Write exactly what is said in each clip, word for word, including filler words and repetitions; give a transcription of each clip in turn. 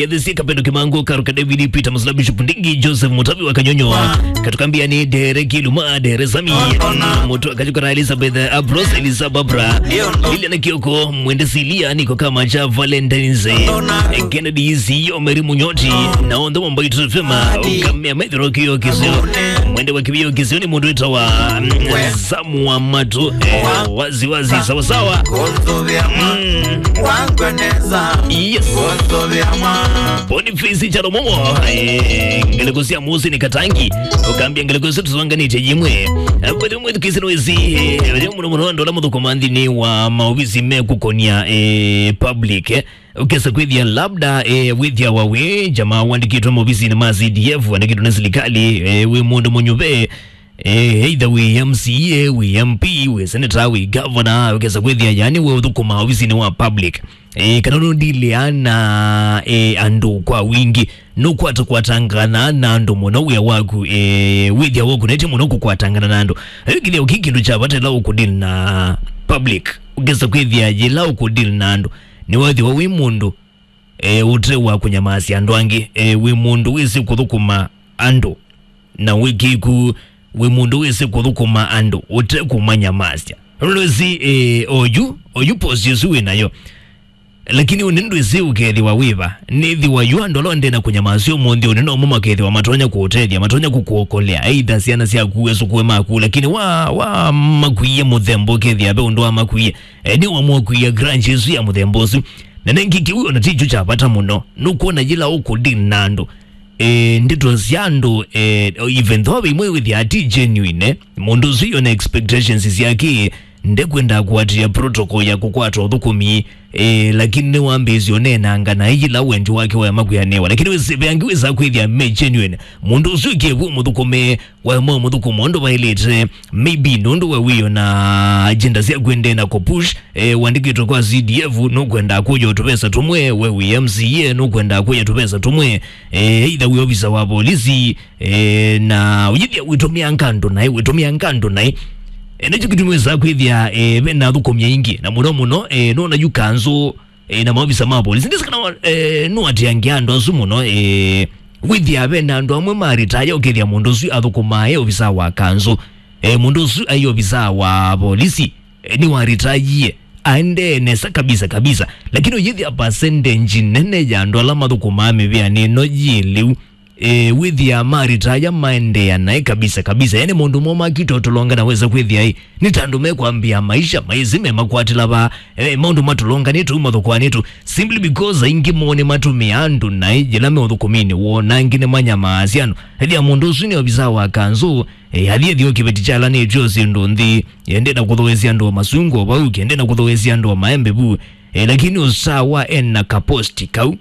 Yethĩsie Kapendo Kimangu, Karuka David, Peter Musila, Bishop Ndingi, Joseph Mutavi wa Kanyonyo, Katukambia ni Dere Kiluma, Dere Sami, Mutu Akajukara, Elizabeth Abros, Elisa Babra, Lilian Kioko, Mwende Silia, Niko Kama cha Valentine's, Kennedy Isiyo, Mary Munyoti, na onthe wa Mbaitu F M, Ukamea Methiro Kio Kisio, Mwende wa Kibio Kisio ni mũndũ wĩtawa, mm, Samu wa Matu, eh, wazi wazi, sawa sawa. Mm. Yes. Boniface Chalomomo, eh, ngeleko sia Musi ni Katangi, ũkambia ngeleko sia tũsonganĩte yĩmwe. Eh, kwa mwe kisi noezi, eh, mũno mũno andũ ala mũthũkũma nthĩnĩ wa maovisi mekũkonia, eh, public, eh. Ũkesa kwĩthĩa labda, eh, wĩthĩawa wĩ jamaa wandĩkĩtwe maovisinĩ ma C D F, wandĩkĩtwe nĩ silikali, eh, wĩ mũndũ mũnyuve, eh, either wĩ M C A, wĩ M P, wĩ senator, wĩ governor, ũkesa kwĩthĩa yani wĩ ũthũkũma ovisinĩ wa public. Eh, kana nũndilea na, eh, andũ kwa wingi, nũkwatakwatangana na andũ mũno wĩa waku, eh, wĩthĩa wakunetye mũno kũkwatangana na andũ. Ĩkĩthĩa ũkĩ kĩndũ kya vata ĩla ũkũdili na public, ũkesa kwĩthĩa yĩla ũkũdili na andũ, nĩwethĩwa wĩ mũndũ, e, ũte wa kũnyamasya andũ angĩ, e, wĩ mũndũ wĩsĩ kũthũkũma andũ, na wĩ kĩku, wĩ mũndũ wĩsĩ kũthũkũma andũ ũte kũmanyamasya. Nũndũ ĩsĩ, e, oyu, oyu posi ũsu wĩ nayo. Lakini ũnĩ ndwĩsĩ ũkethĩwa wĩva, nĩthĩwa yu andũ ala ndena kũnyamasya ũmũnthĩ ũnĩ nomo makethĩwa matonya kũũtethya, matonya kũkũokolea, either syana syaku, esũkũe maku, lakini wa, wa makwie mũthemba ũkethĩa ve ũndũ wa makwie. E, nĩ wamũakwia grudge ĩsu ya mũthemba ũsu. Na nengĩ kĩu ona ti kyo kya vata mũno. Nũkwona yĩla ũkũdeal na andũ, e, ndeto sya andũ, e, even though ve imwe wĩthĩa ti genuine, mũndũ ũsu yona expectations syake, ndekwenda kũatĩĩa protocol ya kũkwata ũthũkũmi, e, lakini nĩwambĩĩsye ũneenanga na yĩla wendi wake waema kwĩanĩwa. Lakini wĩsĩ, ve angĩ wĩsaa kwĩthĩa me genuine. Mũndũ ũsu ĩkĩvw'e mũthũkũme, waema mũthũkũma ũndũ vaĩlĩte, maybe nũndũ we wĩona agenda sya kwendee na kũpush, e, wandĩkĩtwe kwa C D F, nũkwenda kũya tũvesa tũmwe, we wĩ M C A, nũkwenda kũya tũvesa tũmwe, e, either wĩ ofisa wa polisi, e, na ũyĩthĩa wĩtũmĩanga andũ naĩ, wĩtũmĩanga andũ naĩ. E, nĩkyo kĩtumi wĩsaa kwĩthĩa, e, ve na athũkũmi aingĩ, na mũno mũno, e, nona yu kanzũ, e, na maovisa ma polisi. Ndĩsĩ kana, e, nũatĩangia andũ asu mũno, e, wĩthĩa ve na andũ amwe maritaya ũkethĩa mũndũ ũsu athũkũmaa e ovisa wa kanzũ. E, mũndũ ũsu ai ovisa wa polisi, e, nĩwaritayie, aendee nesa kabisa kabisa. Lakini ũyĩthĩa percentage nene ya andũ ala mathũkũmaa mĩvĩanĩ ĩno yĩ lĩu, e, wĩthĩa maritaya maendeea naĩ kabisa kabisa. Yani maũndũ moo makita ũtũlonga na wesa kwĩthĩa ĩ, nĩ ta andũ mekwambĩa maisha maĩsĩ memakwatĩla vaa, e, maũndũ matũlonganĩte u mathũkũanĩte u, simply because aingĩ moo nĩmatũmĩaa andũ naĩ yĩla me ũthũkũminĩ woo, na angĩ nĩmanyamaasya andũ. Ethĩa mũndũ ũsu nĩ ovisa wa kanzũ, e, athi ethĩwa kĩveti kyalanĩtw'e o syĩndũ nthĩ, e, ndenda kũthooesya andũ o masungu o vau, ke ndenda kũthooesya andũ o maembe vu, e, lakini ũsawa ena kaposti kau.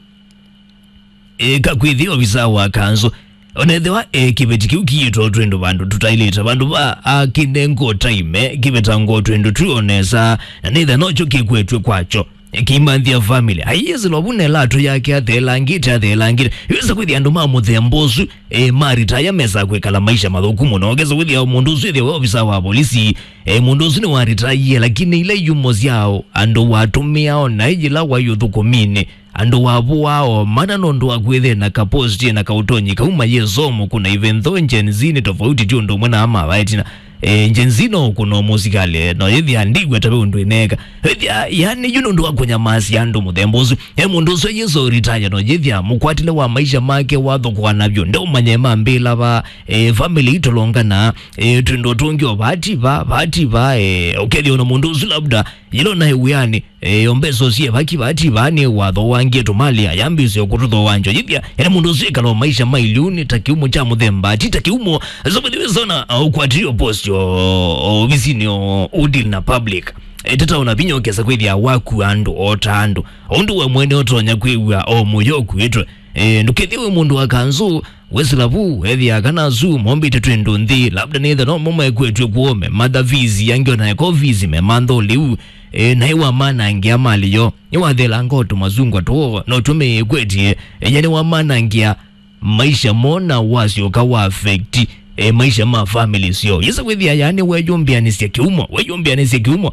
E, kakwĩthĩa ovisa wa kanzũ. Onethĩwa, e, kĩveti kĩu kĩyĩtwa twĩndũ vandũ tũtaĩlĩte, vandũ va akĩnengwa time, kĩvetangwa twĩndũ tu onesa, na nĩtha nokyo kĩkwetw'e kwakyo. E, kĩimanthĩa family. Aiĩsĩlwa vu nela atũ yake atheelangĩte, atheelangĩte. Yũsa kwĩthĩa andũ ma mũthemba ũsu, e, maritaya mesa kwĩkala maisha mathũku mũno. Ũkesa kwĩthĩa mũndũ ũsu ĩthĩwa ovisa wa polisi, e, mũndũ ũsu nĩwaritayie, lakini ila yumo syao andũ watũmĩao na yĩla waĩ ũthũkũminĩ, andũ wavũaa o mana nũndũ wa kwĩthĩa na kaposti na kaũtonyi kau mayĩsomo kuna, even though Gen Z nĩ tofauti ti ũndũ ũmwe na ama vaetina. E, Gen Z no ũkũna mũsikalĩ, no yĩthĩa ndigweta ve ũndũ ĩneeka. Ĩthĩa, yani, yu nũndũ wa kũnyamasya andũ mũthemba ũsu. E mũndũ ũsu yĩso retire, no yĩthĩa mũkwatĩle wa maisha make wathũkũa navyo. Ndeũmanye mambĩla va, e, family itũlongana, e, twĩndũ tũngĩ o vati va, vati va, e, ũkethĩa ona mũndũ ũsu labda yĩla naĩ wĩanĩ, e, o mbesa ũsie vaki vati va nĩ wathowangie tũmali ayambĩsya kũtũthoa njo. Yĩthĩa, ene mũndũ ũsu ĩkala o maisha ma iliuni ta kĩumo kya mũthemba, ti ta kĩumo. So, by the way, sona, uh, ũkwatĩlio post o, o ovisinĩ o, ũdeal na public. E, tata ona vinya ũkesa kwĩthĩa waku andũ, o ta andũ. O ũndũ we mwene ũtonya kwĩw'a o mũyo ũkuĩtwe. E, ndũkethĩwe mũndũ wa kanzũ, wesĩla vu, ethĩa kana asu mombĩte twĩndũ nthĩ, labda nĩtha no mo mekwetw'e kwoo, mematha fees, angĩ ona eka fees, memantha ũlĩu. E, naĩ wamanangĩa malĩ yo, nĩwatheelanga o tũmasungwa twoo, no tũmĩĩkwetye, enya nĩwamanangĩa maisha moo na wasyoka wa affect, e, maisha ma family syoo. Yĩsa kwĩthĩa yani weyũmbĩanĩsya kĩumo, weyũmbĩanĩsya kĩumo.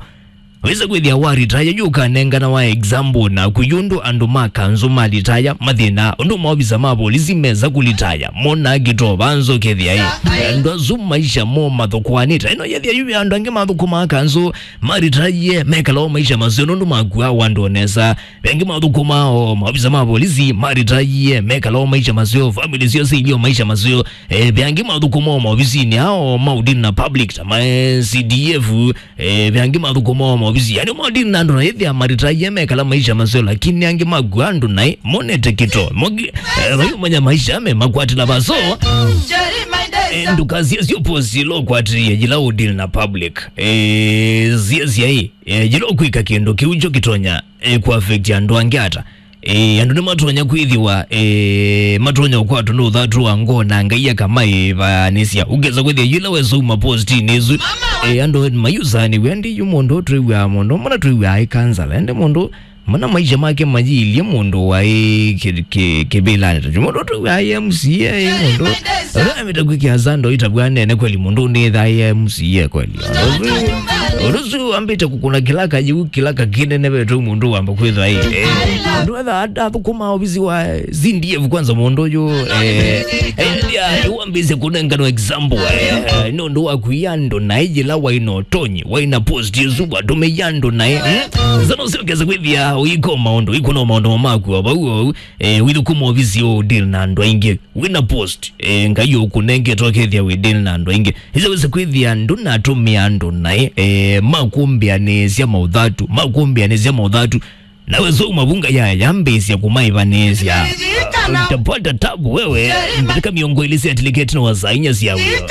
Wĩsa kwĩthĩa wa retire yu ũkanengana wa example naku, yu ũndũ andũ ma kanzũ ma retire mathĩna, ũndũ maovisa ma volisi mesa kũretire mona kĩtoo vanzũ kethĩa ĩ. Andũ asu maisha mo mathũkũanĩte. Ĩno yethĩa yu andũ angĩ mathũkũmaa kanzũ ma retire mekala o maisha maseo nũndũ makua wandũ nesa. Ve angĩ mathũkũmaa o maovisa ma volisi ma retire mekala o maisha maseo, family sio sili o maisha maseo. E, ve angĩ mathũkũmaa o maovisinĩ ao ma ũdini na public ta ma C D F. E, ve angĩ mathũkũmaa o maovisi yani ma ũdini na andũ na ĩthĩa ma retire mekala maisha maseo, lakini angĩ makua andũ naĩ monete kĩtoo. Mogi, e, vayũmanya maisha me makwatĩla vaso. E, ndũkasie sio posi ilo kwatĩie yĩla ũdini na public. E, sia siai. E, yĩla ũkwĩka kĩndũ kĩu kyo kĩtonya, e, kũaffect andũ angĩ ata? E, andũ nĩmatonya kwĩthĩwa, e, matonya ũkwatwa nĩ ũthatu wa ngoo na Ngai akamaĩvanĩsya. Ũkesa kwĩthĩa yĩla wesa uma postinĩ ĩsu, e, andũ mayusanĩw'a ndi yu mũndũ ũtwĩw'aa mũndũ, mana twĩw'aa ĩ kansala, ende mũndũ mana maisha make mayiilye mũndũ waĩ kĩ- kĩ- kĩvĩlanĩ ta kyu. Mũndũ ũtwĩw'aa ĩ M C A, ĩ mũndũ ũla amĩta kwĩkĩa sando itavw'a nene kweli, mũndũ ũnĩthaa ĩ M C A kweli. Ũndũ ũsu ambĩte kũkũna kĩlaka yĩu, kĩlaka kĩnene vetũ mũndũ wamba kwĩthwa ĩ. Eh, andũ etha athũkũma ovisi wa C D F kwanza mũndũ ũyũ, eh, eh, ya, wambĩsye kũnengano example, eh, nĩ ũndũ wa kũia andũ na ĩyĩla waina ũtonyi, waina post ĩsu watũmĩie andũ naĩ, mm? Sasa ũsiokesa kwĩthĩa ũiko maũndũ, ũikũna maũndũ maku o vau o vau, eh, wĩthũkũma ovisi ũũ deal na andũ aingĩ. Wĩna post, eh, Ngai ũkũnengete ũkethĩa wĩ deal na andũ aingĩ. Ĩsa wĩsa kwĩthĩa ndũnatũmĩa andũ naĩ, eh, makũmbĩanĩsya maũthatu, makũmbĩanĩsya maũthatu. Nawe so mavunga ya yambĩsya kũmaĩvanĩsya. Utapata tabu wewe. Ndatĩka mĩongo ĩlĩ sya tiliketi na wa saa inya sya wĩo.